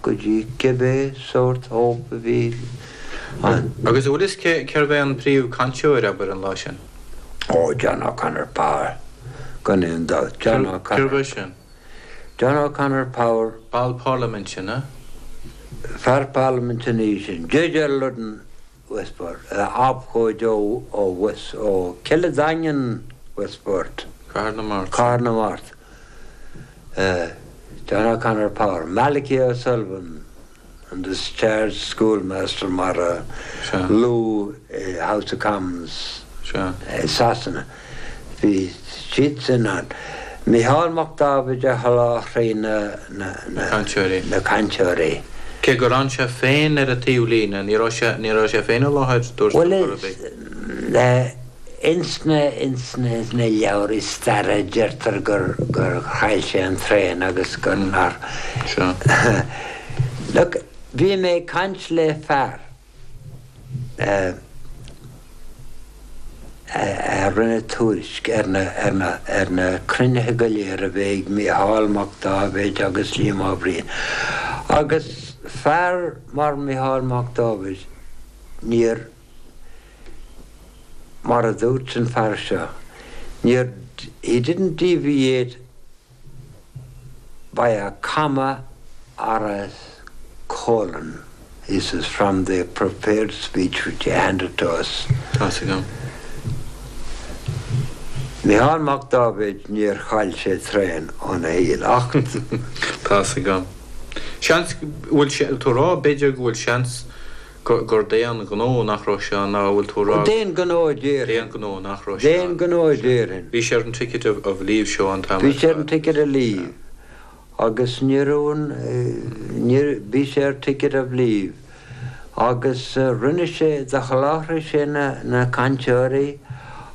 go dtí cibé sórt hope a bhí ann. Agus an bhfuil fhios cé, cérbh é an príomh cainteoir, abair, an lá sin? Ó, John O'Connor Power, gan aon dabht. John O'Connor. Cérbh é sin? John O'Connor Power. Ball parlaiminte, an ea? Fear parlaiminte ina dhiaidh sin. Judge ar Ludden Westport, abhcóide ó West, ó Cill an Daingin Westport. Cathair na Mart. Cathair na Mart. John O'Connor Power, Malachy O'Sullivan, an discharged schoolmaster mar a luadh i House of Commons i Sasana. Bhí siad sin ann. Mícheál Mac Dáibhid a sholáthraigh na cainteoirí. Cé gur fhan sé féin ar an taobhlíne, ní raibh sé, ní raibh sé féin i láthair, dúirt tú, chor ar bith. Bhuel, ins na, ins na, ins na leabhraí staire deirtear gur, gur chaill sé an traein agus gur nár. Sea. Look, bhí mé ag caint le fear. a rinne tuairisc ar na cruinnithe go léir a bhí ag Mícheál Mac Dáibhéid agus Liam Ó Briain. Agus fear mar Mhícheál Mac Dáibhéid, níor, mar a dúirt an fear seo, níor, he didn't deviate by a comma or a colon, he says, from the prepared speech which he handed to us. Tá's agam. Mícheál Mac Dáibhéid, níor chaill sé traein óna shaol ach. Tá's agam. Seans go bhfuil sé, tú a rá, b'fhéidir go bhfuil seans gur d'aon ghnó nach raibh sé ann, nó an bhfuil tú a rá. D'aon ghnó a déarfainn. D'aon ghnó nach raibh sé ann. D'aon ghnó a déarfainn. Bhí sé ar an ticket of leave seo an t-am ar fad. Bhí sé ar an ticket of leave agus ní raibh an, ní, bhí sé ar ticket of leave agus rinne sé, do sholáthraigh sé na, na cainteoirí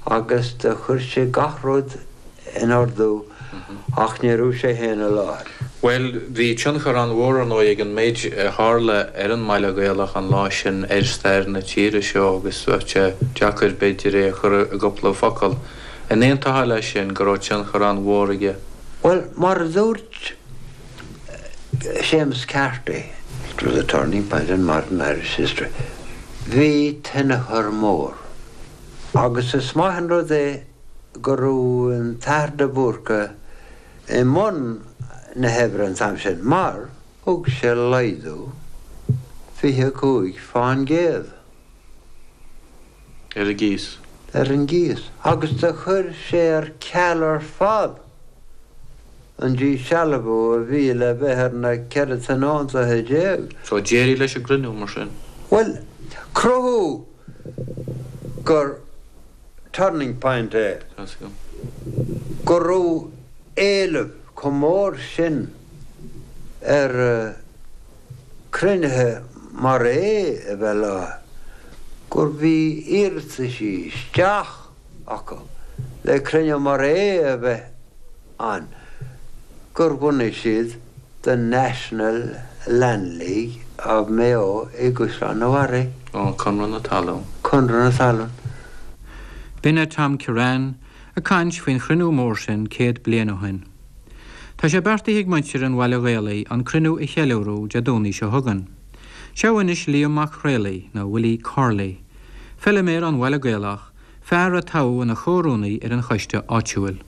agus do chuir sé gach rud in ordú ach ní raibh sé féin i láthair. Bhuel, bhí tionchar an-mhór, ar ndóigh, ag an méid a tharla ar an mBaile Gaelach an lá sin ar stair na tíre seo agus bheadh sé deacair, b'fhéidir, é a chur i gcúpla focal. An aontófá leis sin, go raibh tionchar an-mhór aige? Bhuel, mar a dúirt Séamus Carty, it was a turning point in modern Irish history, bhí tionchar mór agus is maith an rud é go raibh an tAthair de Búrca i mbun na hoibre an t-am sin mar thug sé laghdú 25 fán gcéad. Ar an gcíos. Ar an gcíos. Agus do chuir sé ar ceal ar fad an díshealbhú a bhí le bheith ar na 14 tionóntaithe. So d'éirigh leis an gcruinniú mar sin? Bhuel, cruthú gur. turning point é go raibh éileamh chomh mór sin ar cruinnithe mar é a bheith i láthair gur bhí iarrataisí isteach acu le cruinniú mar é a bheith ann gur bhunaigh siad The National Land League of Mayo i gCaisleán an Bharraigh. Ó, Conradh na Talún. Conradh na Talún. B'in é Tom Kirrane ag caint faoin chruinniú mór sin 100 bliain ó shin. Tá sé beartaithe ag muintir an Bhaile Ghaelaigh an cruinniú a cheiliúradh Dé Domhnaigh seo chugainn. Seo anois Liam Mac Craollaigh, nó Willie Corley, feiliméar ón Bhaile Gaelach, fear a toghadh ina chomhrúnaí ar an choiste áitiúil.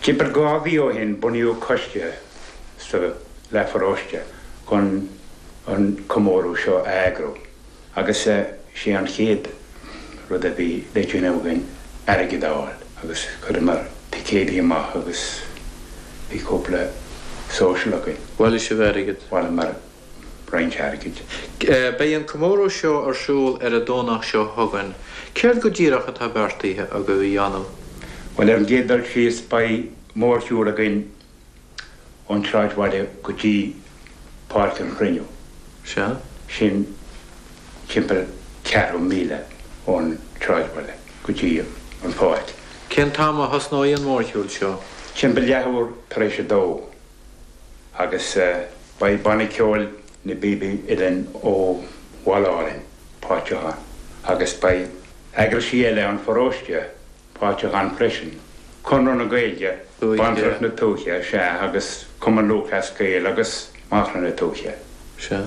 Timpeall 2 mhí ó shin bunaíodh coiste sa leathpharóiste chun an comóradh seo a eagrú agus sé an chéad rud a bhí le déanamh againn airgead a fháil agus chuireamar ticéidí amach agus bhí cúpla social againn. Bhailigh sibh airgead? Bhailíomar roinnt airgid. Beidh an comóradh seo ar siúl ar an Domhnach seo chugainn. Céard go díreach atá beartaithe agaibh a dhéanamh? Bhuel, ar an gcéad dul síos, beidh mórshiúl againn ón tsráidbhaile go dtí Páirc an Chruinniú. Sea. Sin timpeall ceathrú míle ón tsráidbhaile go dtí an pháirc. Cén t-am a thosnóidh an mórshiúl seo? Timpeall leathuair tar éis a dó. Agus beidh Banna Ceoil na bPíobaí Uilleann ó Bhaile Árainn páirteach ann agus beidh eagraisí eile an pharóiste páirteach ann freisin, Conradh na Gaeilge, Bantracht na Tuaithe, sea, agus Cumann Lúthchleas Gael agus Macra na Tuaithe. Sea.